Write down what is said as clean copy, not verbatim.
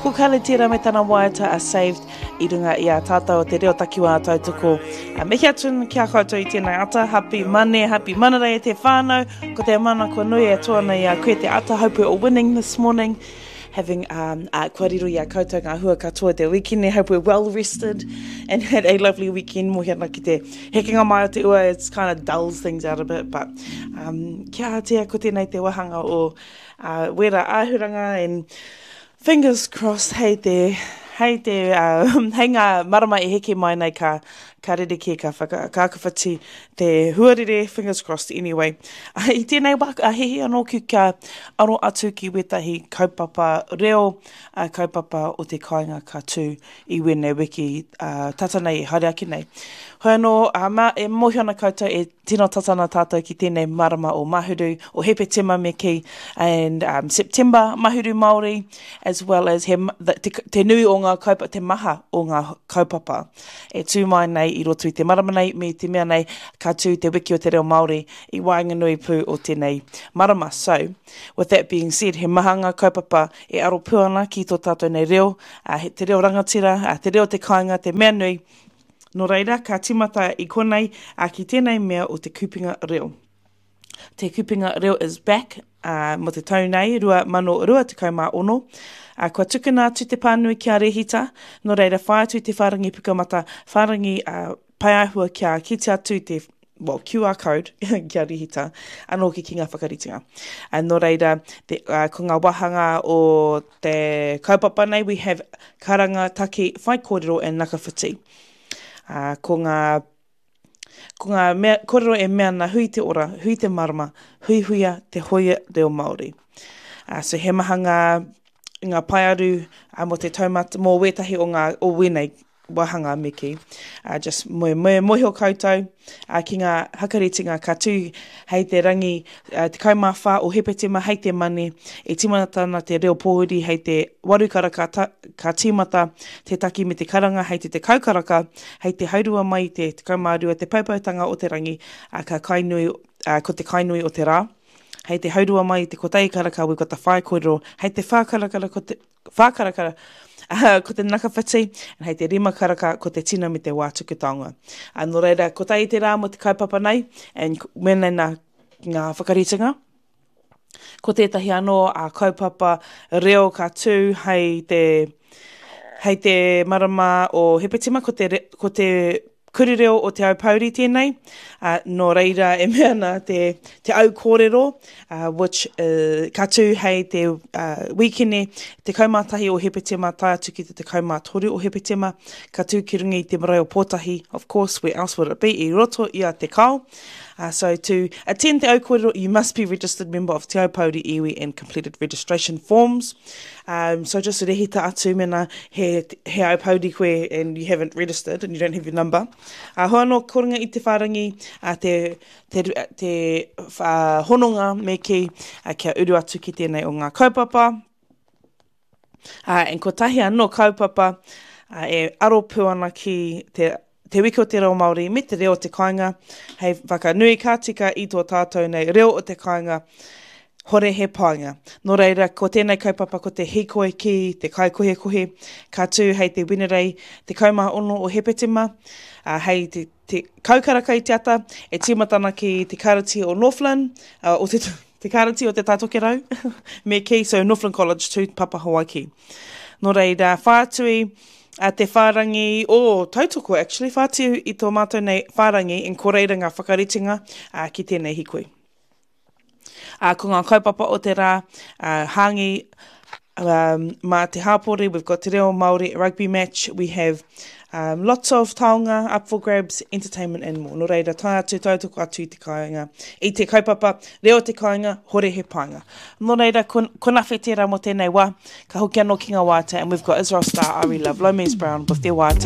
Ko Carly tērā me tana waiata a Saved i runga i a tātou o te reo takiwā tautoko. A mihi atu ki a koutou i tēnei ata. Happy Mane, happy Manarei e te whānau. Ko te mana kua nui e tō ana i a koe te ata. Hope we're all winning this morning. Having um, uh, kua riro i a koutou ngā hua katoa te wikine. Hope we're well rested and had a lovely weekend. Mohi ana ki te hekenga mai o te ua, it's kind of dulls things out a bit, but um, kia atia ko tēnei te wahanga o uh, wera āhuranga and fingers crossed hei te hei te uh, hei ngā marama e heke mai nei ka ka rerekē ka whaka ka akawhiti te huarere fingers crossed anyway uh, i tēnei wā a hihi anō ki kia aro atu ki wētahi kaupapa reo uh, kaupapa o te kāinga ka tū i wēnei wiki uh, tata nei e haere ake nei. Hoi anō, uh, mā, e mōhio ana koutou e tino tata ana tātou ki tēnei marama o Mahuru, o Hepetema me kī, and um, September, Mahuru Māori, as well as he, the, te, te nui o ngā kaupapa, te maha o ngā kaupapa e tū mai nei i roto i te marama nei, me te mea nei ka tū te wiki o te reo Māori i waenganui pū o tēnei marama. So, with that being said, he maha ngā kaupapa e aro pū ana ki tō tātou nei reo, ā, he, te reo rangatira, ā, te reo te kāinga, te mea nui. Nō reira, ka tīmata i konei, ā, ki tēnei mea o Te Kupenga Reo. Te Kupenga Reo is back, ā, mō te tau nei, 2026. Ā, kua tukuna atu te pānui ki a Rehita, nō reira, whai atu i te whārangi Pukamata, whārangi, ā, paeāhua kia kitea atu te well, QR code kia rihita anō ki ki ngā whakaritenga. Uh, nō reira, te, uh, ko ngā wāhanga o te kaupapa nei, we have karanga, taki, whaikōrero and nakawhiti. Uh, ko ngā ko ngā mea, kōrero e mea ana hui te ora, hui te marama, huihuia te hoia reo Māori. Uh, so he maha ngā, ngā paearu uh, mō te taumata, mō wētahi o ngā, o wēnei wāhanga me kī. Uh, just me, me mohio koutou uh, ki ngā hakaritinga ka tū hei te rangi uh, 14 o Hepetema hei te mane e tīmata ana te reo pōhuri hei te waru karaka ta, ka tīmata te taki me te karanga hei te tekau karaka hei te haurua mai i te 12 te poupoutanga o te rangi uh, ka kainui, uh, ko te kainui o te rā. Hei te haurua mai i te kotahi karaka we've got the whai kōrero, hei te whā karakara ko te Whā karakara, ko te nakawhiti, and hei te rima karaka, ko te tino me te wā tuku taonga. Uh, nō reira, kotahi te rā mō te kaupapa nei, and mēnei nā ngā whakaritenga. Ko tētahi anō a kaupapa reo ka tū hei te, hei te marama o Hepetema, ko te, ko te Kuri reo o Te Aupōuri tēnei, ā, nō reira e mea ana te, te au kōrero, uh, which uh, ka tū hei te uh, wīkene 11 o Hepetema tae atu ki te 13 o Hepetema, ka tū ki runga i te marae o Pōtahi, of course, where else would it be, i roto i a Te Kao. Uh, so to attend Te Au Kōrero, you must be registered member of Te Aupōuri iwi and completed registration forms. Um, so just rehita atu mena he, he Aupōuri koe and you haven't registered and you don't have your number. Uh, hoa anō koringa i te whārangi, uh, te, te, te uh, hononga me kī, uh, kia uru atu ki tēnei o ngā kaupapa. Uh, and kotahi anō kaupapa uh, e aro pū ana ki te Te Wiki o te Reo Māori me te reo o te kāinga hei whakanui ka tika i tō tātou nei reo o te kāinga, hore he painga. Nō reira, ko tēnei kaupapa ko te hīkoi ki te kaikohekohe, ka tū hei te Wenerei 16 o Hepetema, ā, hei te, te kaukaraka i te ata, e tīmata ana ki te Kāreti o Northland, ā, o te, te Kāreti o Te Tai Tokerau, me kī, so Northland College tū Papa Hawaiki. Nō reira, whātui, a te whārangi o oh, tautoko actually, whātiu i tō mātou nei whārangi in ko reira ngā whakaritenga uh, ki tēnei hikoi. Uh, ko ngā kaupapa o te rā, uh, hāngi um, mā te hāpori, we've got te reo Māori rugby match, we have um, lots of taonga up for grabs, entertainment and more. Nō reira, tae atu, tautoko atu i te kāinga, i te kaupapa, reo te kāinga, hore he painga. Nō reira, ko, ko nawhe tērā mō tēnei wā. Ka hoki anō ki ngā waiata and we've got Israel Star, Ari Love, Lomes Brown with their waiata.